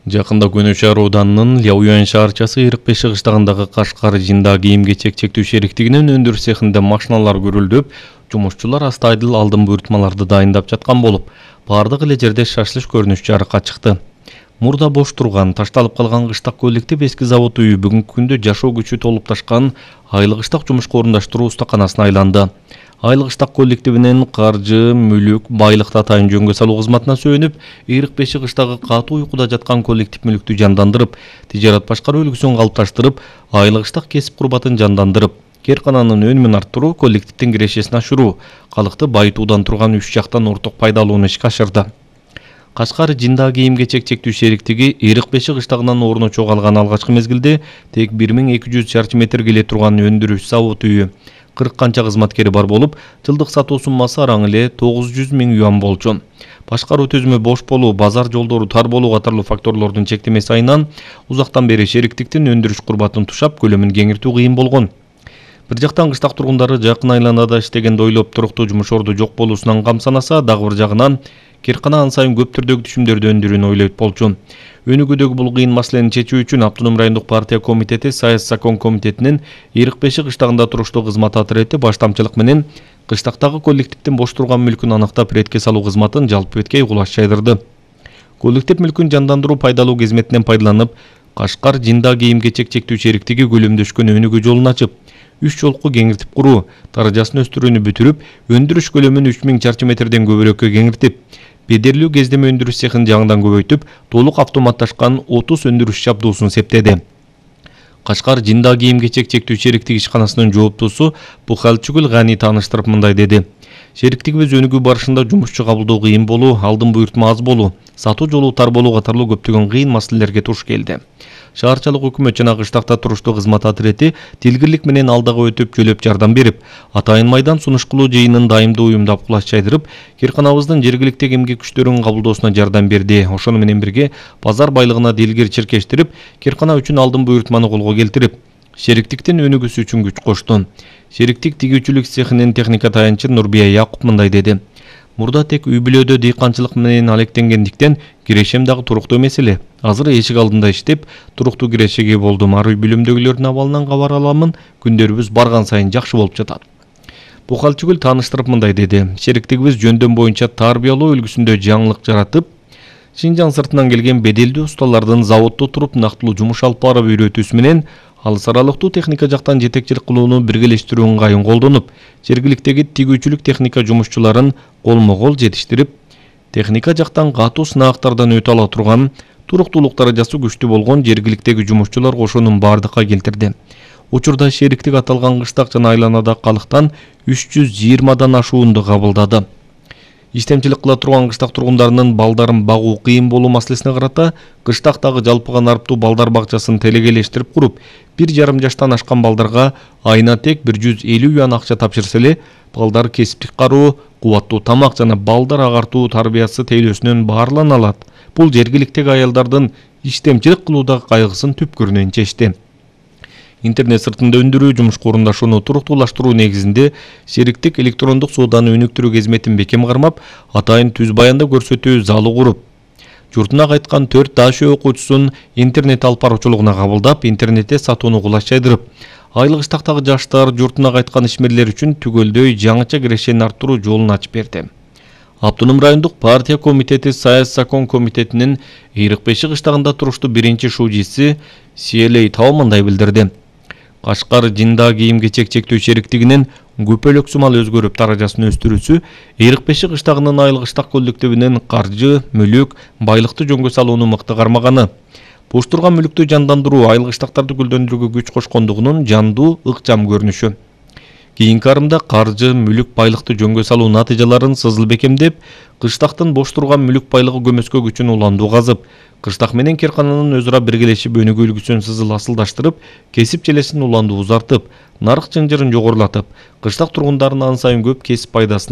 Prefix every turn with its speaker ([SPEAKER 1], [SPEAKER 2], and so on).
[SPEAKER 1] Жакында Көнө шаар ауданынын Ляуян шаарчасы 45 чыгыштагындагы Кашкар жинда кийим-кечек чектүү шериктигинин өндүрүш цехинде машиналар көрүлдөп, жумушчулар астайдыл алдын буйртмаларды дайындап жаткан болуп, бардык эле жерде шашлыш көрүнүш жарыкка чыкты. Мурда бош турган, ташталып калган кыштак коллектив эски завод үйү бүгүнкү күндө жашоо күчү толуп ташкан айлык ыштак жумушка орундаштруу устаканасына айланды. Айлык ыштак коллективинин каржы, мүлүк, байлыкты атайын жөнгө салуу кызматына сөөнүп, 45 кыштагы катуу уйкуда жаткан коллектив мүлүктү жандандырып, тижарат башкаруу үлгүсүн калыпташтырып, айлык ыштак кесип курбатын жандандырып, кээркананын өнүмүн арттыруу, коллективдин кирешесин ашыруу, калыкты байытуудан турган үч жактан орток пайдалууну ишке ашырды. Кашкар жинда кийим-кечек чектүү шериктиги 45 кыштагынан орун чогалган алгачкы мезгилде тек 1200 чарчы метр келе турган өндүрүш завод үйү 40 канча кызматкери бар болуп, жылдык сатуу суммасы араң эле 900 000 юан болчу. Башкаруу төзүмү бош болуу, базар жолдору тар болуу катарлуу факторлордун чектемеси айынан узактан бери шериктиктин өндүрүш курбатын тушап, көлөмүн кеңиртүү кыйын болгон. Бир жактан кыштак тургундары жакын айланада иштегенди ойлоп туруктуу жумуш орду жок болуусунан камсанаса, дагы бир жагынан кээркана ан сайын көп түрдөгү түшүмдөрдү өндүрүүнү ойлойт болчу. Өнүгүүдөгү бул кыйын маселени чечүү үчүн Автоном райондук партия комитети Саясий закон комитетинин 45 кыштагында туруштуу кызмат отирети баштамчылык менен кыштактагы коллективдин бош турган мүлкүн аныктап ретке салуу кызматын жалпы бетке кулаш жайдырды. Коллектив мүлкүн жандандыруу пайдалуу кызметинен пайдаланып, Кашкар жинда кийим-кечек чектүү шериктиги көлөмдөшкөн өнүгүү жолун ачып, 3 жолку кеңиртип куруу, даражасын өстүрүүнү бүтүрүп, өндүрүш көлөмүн 3000 чарчы метрден көбүрөккө кеңиртип, бедерлүү кездеме өндүрүш цехин жаңыдан көбөйтүп, толук автоматташкан 30 өндүрүш жабдуусун септеди. Кашкар жинда кийим-кечек чектүү шериктиги ишканасынын жооптусу Бухалчыгүл Гани тааныштырып мындай деди. Шериктигибиз өнүгүү барышында жумушчу кабылдоо кыйын болуу, алдын буйртма аз болуу, сатуу жолу тар болуу катарлуу көптөгөн кыйын маселелерге туш келди. Шаарчылык өкмөт жана кыштакта туруштуу кызмат отирети тилгирлик менен алдага өтүп жөлөп жардам берип, атайын майдан сунуш кылуу жыйынын дайымдуу уюмдап кулаш жайдырып, кээрканабыздын жергиликтеги эмгек күчтөрүнүн кабылдоосуна жардам берди. Ошону менен бирге базар байлыгына дилгир чиркештирип, кээркана үчүн алдын буйртманы колго келтирип, шериктиктин өнүгүүсү үчүн күч кошту. Шериктик тигүүчүлүк цехинин техника таянчы Нурбия Якуп мындай деди. Мурда тек үй бүлөдө дыйканчылык менен алектенгендиктен кирешем дагы туруктуу эмес эле. Азыр эшик алдында иштеп, туруктуу кирешеге болдум. Ар үй бүлөмдөгүлөрдүн абалынан кабар аламын. Күндөрүбүз барган сайын жакшы болуп жатат. Бухалчыгүл тааныштырып мындай деди. Шериктигибиз жөндөм боюнча тарбиялоо үлгүсүндө жаңылык жаратып, Шинжаң сыртынан келген беделдүү усталардын заводдо туруп нактылуу жумуш алып барып үйрөтүүсү менен алыс аралыктуу техника жактан жетекчилик кылууну биргелештирүү ыңгайын колдонуп, жергиликтеги тигүүчүлүк техника жумушчуларын колмо-кол жетиштирип, техника жактан катуу сынаактардан өтө ала турган, туруктуулук даражасы күчтүү болгон жергиликтеги жумушчулар кошунун бардыкка келтирди. Учурда шериктик аталган кыштак жана айланада калыктан 320дан ашуунду кабылдады. Иштемчилик кыла турган кыштак тургундарынын балдарын багуу кыйын болуу маселесине карата кыштактагы жалпыга нарптуу балдар бакчасын телегелештирип куруп, 1,5 жаштан ашкан балдарга айына тек 150 юан акча тапшырса эле, балдар кесиптик кароо, кубаттуу тамак жана балдар агартуу тарбиясы тейлөөсүнөн баарылана алат. Бул жергиликтеги аялдардын иштемчилик кылуудагы кайгысын түпкүрүнөн чечти. Интернет сыртында өндүрүү, жумушка орундашууну туруктуулаштыруу негизинде шериктик электрондук сооданы өнүктүрүү кызметин бекем кармап, атайын түз баянда көрсөтүү залы куруп, журтуна кайткан 4 дашөө окуучусун интернет алып баруучулугуна кабылдап, интернетте сатууну кулаш жайдырып, айлык ыштактагы жаштар, журтуна кайткан ишмерлер үчүн түгөлдөй жаңыча кирешени арттыруу жолун ачып берди. Автоном райондук партия комитети Саясий закон комитетинин 45 кыштагында туруштуу биринчи шужиси Сиелей Тау мындай билдирди. Кашкар жинда кийим-кечек чектүү шериктигинин көпөлөк сумал өзгөрүп даражасын өстүрүүсү 45 кыштагынын айлык ыштак коллективинин каржы, мүлүк, байлыкты жөнгө салууну мыкты кармаганы, бош турган мүлүктү жандандыруу, айлык ыштактарды гүлдөндүрүүгө күч кошкондугунун жандуу, ыкчам көрүнүшү. Кийинки арымда каржы, мүлүк, байлыкты жөнгө салуу натыйжаларын сызыл бекемдеп, кыштактын бош турган мүлүк байлыгы көмөскө күчүн уландуу казып, кыштак менен кээркананын өз ара биргелешип өнүгүү үлгүсүн сызыл асылдаштырып, кесип желесин уландуу узартып, нарык чынжырын жогорулатып, кыштак тургундарын ан сайын көп кесип пайдасын